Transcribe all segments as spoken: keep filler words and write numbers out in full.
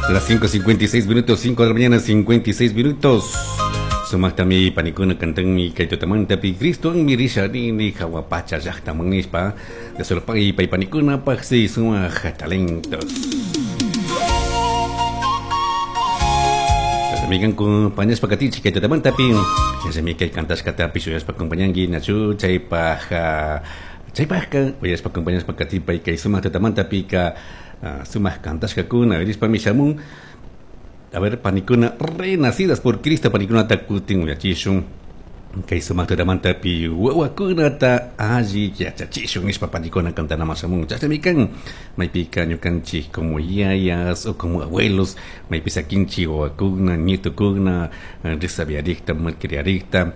Las cinco cincuenta y seis minutos, cinco de la mañana, cincuenta y seis minutos. Sumaqtami panikuna cantanmi kay tutamantapi Cristo mi risha nini jahua pacha llaqtaman nishpa de solo pay pay panikuna paqsi sumaq talentos. Migan compañeros pakatichi kay tutamantapi yachami kay kantashkatapi shuyashpa acompañanki nachu chaypaj chaypajka uyashpa acompañashpa katipay kay sumaq tutamantapika sumaq kantashkakuna rishpami shamun. A ver, panikuna Renacidas por Cristo, panikunata kutin uyachishun. Kay sumaq tutamantapi wawakunata alli yachachishun nishpa panikuna kantanaman shamun. Chashnami kan maypika ñukanchik como yayas o como abuelos maypi sakinchik wawakuna, nietukuna resabiarikta, malcriarikta,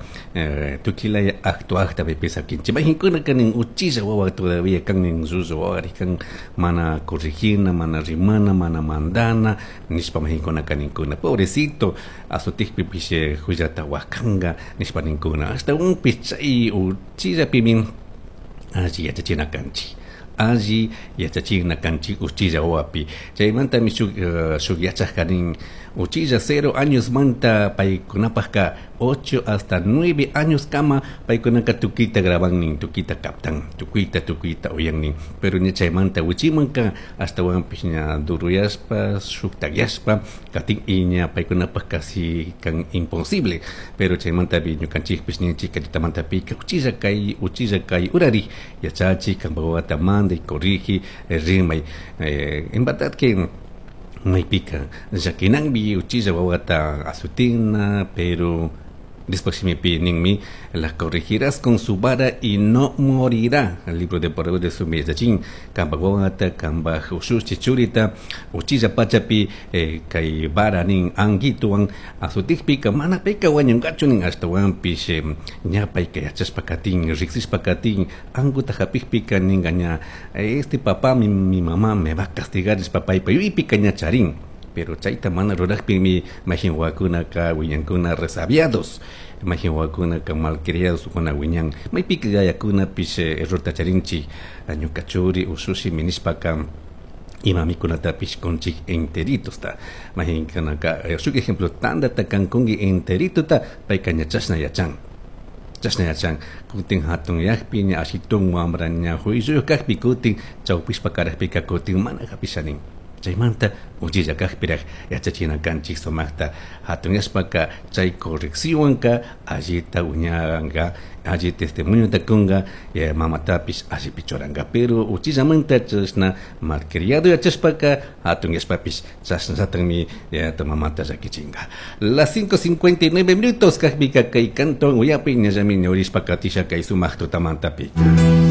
tukilaya actuakta maypi sakinchik. Mayqinkuna kanin uchilla wawa todavía kanin, llullu wawarik kan, mana corregina, mana rimana, mana mandana nishpa mayqinkuna kaninkuna, pobrecito, azotikpipish hullata wakanka nishpa ninkuna. Ashtawanpish chay uchillapimi alli yachachina kanchik, alli yachachina kanchik uchilla wawapi. Chaymantami shuk shuk yachak kanin uchilla cero años manta paykunapajka ocho hasta nueve años kama paykunaka tukuyta graban, tukuyta captan, tukuyta tukuyta uyannin, pero ña chaymanta wichimanka ashtawanpish ña duruyashpa, shuktakyashpa katin y ña paykunapaj casi kan imposible. Pero chaymantapi ñukanchikpish ninchik kay tutamantapika uchilla kay uchilla kay urari yachachik kanpak wawata manday, corrigi, rimay. En verdad que maypika llakinanmi uchilla wawata azutina, pero después shimipi ninmi: "La corregirás con su vara y no morirá". El libro de Proverbios de su yachachin kanpak wawata, kanpak ushushi churita uchilla pachapi eh, kay vara nin anguituwan azutikpika mana payka wañunkachu nin. Ashtawanpish eh, ña payka yachashpa katin, riksishpa katin, anguta hapikpika ninka ña "este papá, mi, mi mamá me va a castigar" nishpa paypa yuypika ña charin. Pero chayta mana rurajpimi mayjin wawakunaka wiñankuna resabiados, mayjin wawakunaka malcriados kuna wiñan. Maypika yayakunapish errorta charinchik, ñuka churi ushushi nishpaka ima mikunatapish kunchik enteritosta. Mayjinkunaka, shuk ejemplo, tandata kan kunki enteritota, payka ña chashna yachan, chashna yachan. Kutin hatunyakpi ña ashitun wambra ña juicio kakpi kutin chawpishpa karajpika kutin mana hapishanin. Chaymanta uchilla kakpirak yachachina kanchik sumaqta. Hatunyashpaka chay correccionwanka allita wiñanka, alli testimoniota kunka, mamatapish allipi churanka. Pero uchillamanta chashna malcriado yachashpaka hatunyashpapish chashnallatakmi mamata llakichinka. Las cinco cincuenta y nueve minutos kakpika kay canto uyapi ñallami ñawrishpa katisha kay sumaq tutamantapi.